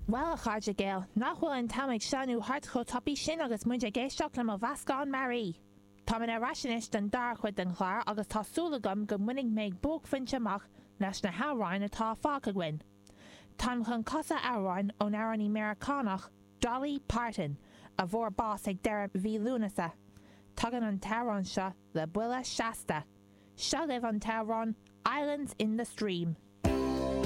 Bhuel, a chairde Gael, nach bhfuil an t-am ag sleamhnú thart chomh tapaidh sin agus muid ag éisteacht le mo mheascán mearaí! Táimid ar ais anois don dara cuid den chlár agus tá súil agam go mbainfidh mé buaicphointe amach leis na hamhráin atá fágtha againn. Táim chun casadh amhráin ón amhránaí Meiriceánach Dolly Parton, a bhfuair bás ag deireadh mhí Lúnasa. Tagann an t-amhrán seo le buille seasta. Seo libh an t-amhrán Islands in the Stream.